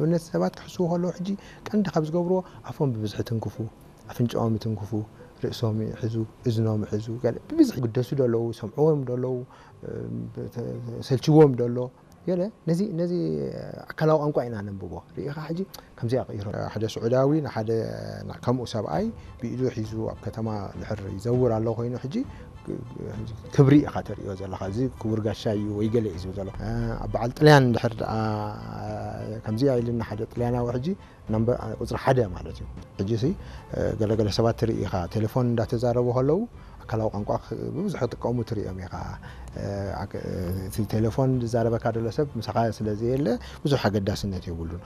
ንኣብነት ሰባት ክሕስዉ ከለዉ ሕጂ ቀንዲ ካብ ዝገብርዎ ኣፎም ብብዝሒ ትንክፉ፣ ኣፍንጫኦም ይትንክፉ፣ ርእሶም ይሕዙ፣ እዝኖም ይሕዙ፣ ገለ ብብዝሒ ይግደሱ ዶ ኣለዉ፣ ሰምዕዎም ዶ ኣለዉ፣ ሰልችዎም ዶ ኣሎ፣ ገለ ነዚ ነዚ ኣካላዊ ቋንቋ ኢና ነንብቦ። ርኢኻ ሕጂ ከምዚኣ ቀይሮ። ሓደ ስዑዳዊ ንሓደ ከምኡ ሰብኣይ ብኢዱ ሒዙ ኣብ ከተማ ድሕር ይዘውር ኣሎ ኮይኑ ሕጂ ክብሪ ኢኻ ተርእዮ ዘለኻ። እዚ ክቡር ጋሻ እዩ ወይ ገለ እዩ ዝብል ዘሎ። ኣብ በዓል ጥልያን ድሕር ደኣ ከምዚኣ ኢልና ሓደ ጥልያናዊ ሕጂ ናምበር ቁፅሪ ሓደ ማለት እዩ። ሕጂ ሲ ገለገለ ሰባት ትርኢ ኢኻ ቴሌፎን እንዳተዛረቡ ከለዉ ኣካላዊ ቋንቋ ብብዝሒ ክጥቀሙ ትርእዮም ኢኻ። እቲ ቴሌፎን ዝዛረበካ ዘሎ ሰብ ምሳኻ ስለ ዘየለ ብዙሕ ኣገዳስነት የብሉን።